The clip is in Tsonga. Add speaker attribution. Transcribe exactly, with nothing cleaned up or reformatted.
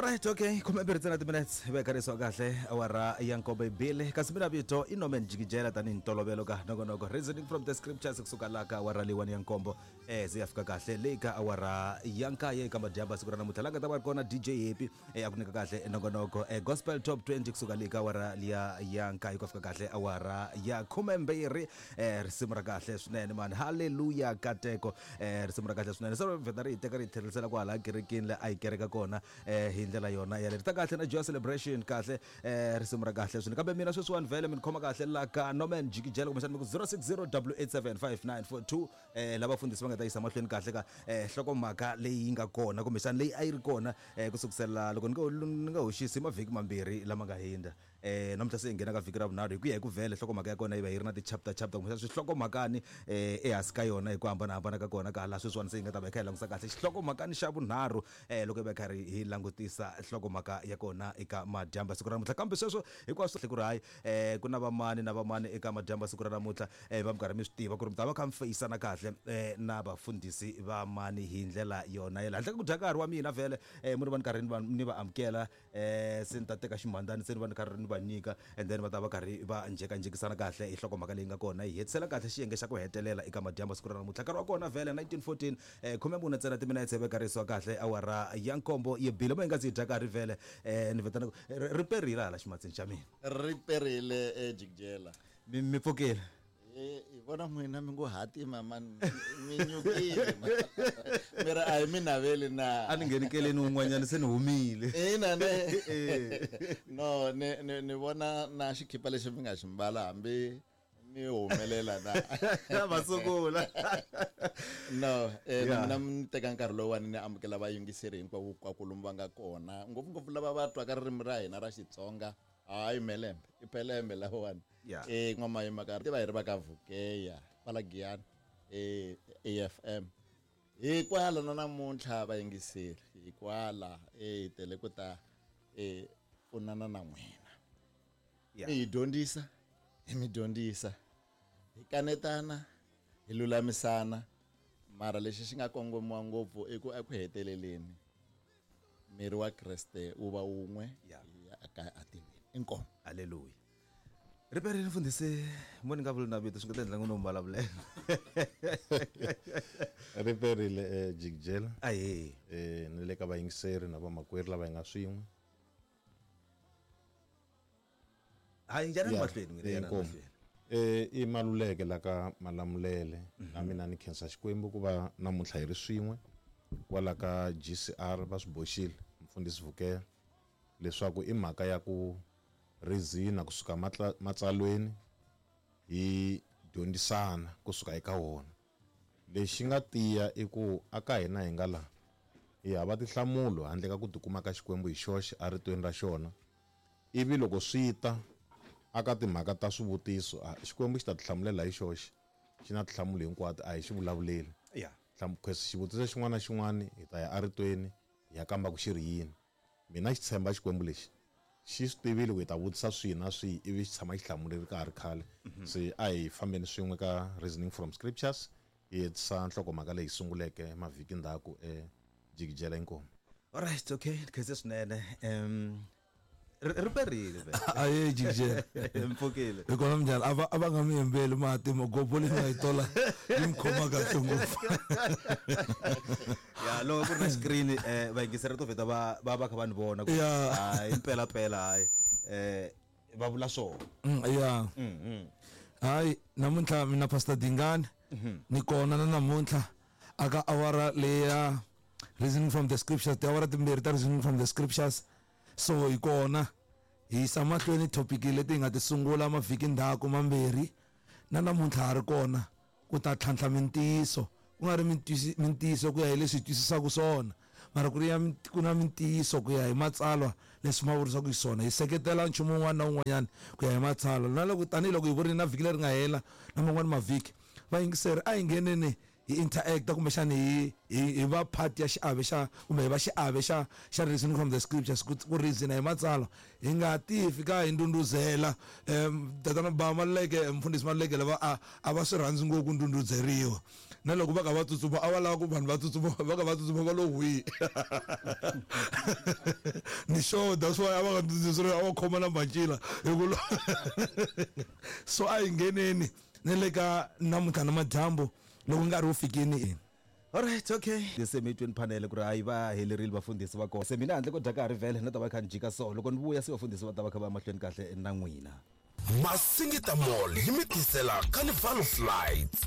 Speaker 1: Alright, okay. Khume mbirhi ntsena timinutes hi vekarisiwa kahle awara ya nkombo bili kasi mina vito i Norman Jikijela tanihi ntolovelo ka nongonoko Reasoning from the Scriptures kusuka laha ka awara leyiwani ya nkombo eh ze ya fika kahle leyi ka awara ya nkaye eka madyambu siku ra namuntlha la nga ta va ri kona D J Happy eh a ku nyika kahle nongonoko eh Gospel Top twenty kusuka leyi ka awara liya ya nkaye ku fika kahle awara ya khume mbirhi eh risimu ra kahle swinene mani hallelujah kateko eh risimu ra kahle swinene so vheta ri hi teka ri hi tlherisela kwala kerekeni le a hi kereka kona eh hi ndlela yona ya leri ta kahle na Joy Celebration kahle eh risimu ra kahle swinene kambe mina sweswiwani vhele mi ni khoma kahle la ka Norman Jikijela kumbexana mi ku zero six zero double eight seven five nine four two eh lava fundisi va nga ta yisa mahlweni kahle ka eh hlokomhaka leyi yi nga kona kumbexana leyi a yi ri kona eh ku sukusela loko ni nga ni nga hoxisi mavhiki mambirhi lama nga hundza eh namuntlha se hi nghena ka vhiki ra vunharhu hi ku ya hi ku vhele hlokomhaka ya kona yi va yi ri na ti-chapter chapter kumbexana swihlokomhakani eh ehansi ka yona hi ku hambanahambana ka kona ka laha sweswiwani se hi nga ta va hi kha hi langutisa kahle xihlokomhakani xa vunharhu eh loko hi va hi karhi hi langutisa hlokomhaka ya kona eka madyambu siku ra namuntlha kambe sweswo hinkwaswo ku ri hayi eh ku na vamani na vamani eka madyambu siku ra namuntlha eh va mi karhi mi swi tiva ku ri mi ta va kha mi feyisana kahle eh na vafundhisi va mani hi ndlela yona yele handle ka ku dya nkarhi wa mina vhele eh mu ni va ni karhi ni va ni va amukela eh se ni ta teka ximhandani se ni va ni karhi ni va nyika and then va ta va karhi va njhekanjhekisana kahle hi hlokomhaka leyi nga kona hi hetisela kahle xiyenge xa ku hetelela eka madyambu siku ra namuntlha nkarhi wa kona vhele nineteen fourteen eh khume mune ntsena timinetse vekarisiwa kahle awara ya nkombo yi bile mo hi nga zi hi dya nkarhi vhele eh ni vitana ri perile hala ximatsini xa mina
Speaker 2: ri perile eh Jikijela
Speaker 1: mi mi pfukile
Speaker 2: eh hi vona n'wina mi ngo hatima man mi nyukile mi ri a hi mi naveli na
Speaker 1: a ni nghenikeleni un'wanyana se ni humile
Speaker 2: ina ne no ni ni ni vona na xikhipa lexi mi nga xi mbala hambi mi humelela na
Speaker 1: va sungula
Speaker 2: no eh na mina ni teka nkarhi lowuwani ni amukela vayingiseri hinkwavo kwakulumu va nga kona ngopfungopfu lava va twaka ririmi ra hina ra Xitsonga hayi melembe i pelembe lawani eh n'wamayima ka tiva hi ri va ka Vukeya kwala Giyani eh A F M hi kwala na namuntlha vayingiseri hi kwala eh tele ku ta eh pfunana na n'wina mi hi dyondzisa hi mi dyondzisa hi kanetana hi lulamisana mara lexi xi nga kongomiwa ngopfu i ku eku heteleleni miri wa Kreste wu va wun'we ya aka atilweni inkomu
Speaker 1: haleluya riperile mfundhisi mo ni nga vuli na vito swi nga ta endla ngo no mbulavulela
Speaker 3: riperile eh Jikijela
Speaker 1: ahe
Speaker 3: eh ni le ka vayingiseri na vamakwerhu lava hi nga swin'we
Speaker 1: hayi njhani mahlweni n'wina yana mahlweni
Speaker 3: eh i Maluleke la ka Malamulele na mina ni khensa Xikwembu ku va namuntlha hi ri swin'we kwala ka G C R va swi boxile mfundhisi Vukeya leswaku i mhaka ya ku rizina kusuka matsalweni hi dyondzisana kusuka eka wona lexi nga tiya i ku aka hina hi nga la hi hava tinhlamulo handle ka ku tikuma ka Xikwembu hi xoxe eritweni ra xona ivi loko swi ta aka timhaka ta swivutiso Xikwembu xi ta tihlamulela hi xoxe xi na tinhlamulo hinkwato a hi xi vulavuleli
Speaker 1: yeah
Speaker 3: xivutiso xin'wana na xin'wana hi ta ya eritweni hi ya kamba ku xi ri yini mina xi tshemba Xikwembu lexi xi swi tivile ku hi ta vutisa swihi na swihi ivi xi tshama xi hlamuleli ka ha ri khale se a hi fambeni swin'we ka Reasoning from Scriptures hi hetisa nhlokomhaka leyi sunguleke mavhiki ndzhaku e Jikijela inkomu
Speaker 1: alright okay khense swinene um ri perile
Speaker 4: aye Jikijela
Speaker 1: mpfukile
Speaker 4: hi kona minjhani a va a va nga mi hembeli mati magobo leyi nga yi tola yi mi khoma kahle ngopfu
Speaker 1: ya loko ku ri na screen eh vayingiseri to vheta va va va kha va ni vona ku hayi impela pela hayi eh va vula swona
Speaker 4: ya hayi namuntlha mina Pastor Dingani ni kona na namuntlha aka awara leya Reasoning from the Scriptures tiawara timbirhi ta Reasoning from the Scriptures so hi kona hi yisa mahlweni topic leti hi nga ti sungula mavhiki ndzhaku mambirhi na namuntlha ha ri kona ku ta tlhantlha mintiyiso ku nga ri mintiyiso ku ya hi leswi hi twisisaka swona mara ku ri ya ku na mintiyiso ku ya hi matsalwa leswi ma vurisaka xiswona hi seketela nchumu wun'wana na wun'wanyana ku ya hi matsalwa na loko tanihiloko hi vurile na vhiki leri nga hela na man'wani mavhiki vayingiseri a hi ngheneni hi interacta kumbexani hi hi hi va part ya xiave xa kumbe hi va xiave xa xa Reasoning from the Scriptures ku ku reason hi matsalwa hi nga ti fika hi ndunduzela um tatana ba Maluleke mfundhisi Maluleke lava a a va swi rhandzi ngopfu ku ndundudzeriwa Na loko va kha va tsutsuma a va lava ku vanhu va tsutsuma va kha va tsutsuma va lo hwi. Ni sure that's why a va nga tsutsumi, a va khoma na macila hi ku so a hi ngheneni ni le ka namuntlha na madyambu loko nkarhi wu fikini.
Speaker 1: Alright, okay. Se mi twini panel ku ri hayi va helerile vafundhisi va kona. Se mina handle ko dya ka ha ri vhele na ta va kha ni jika so loko ni vuya se vafundhisi va ta va kha va mahlweni kahle na n'wina.
Speaker 5: Masingita Mall yi mi tisela Carnival of Lights.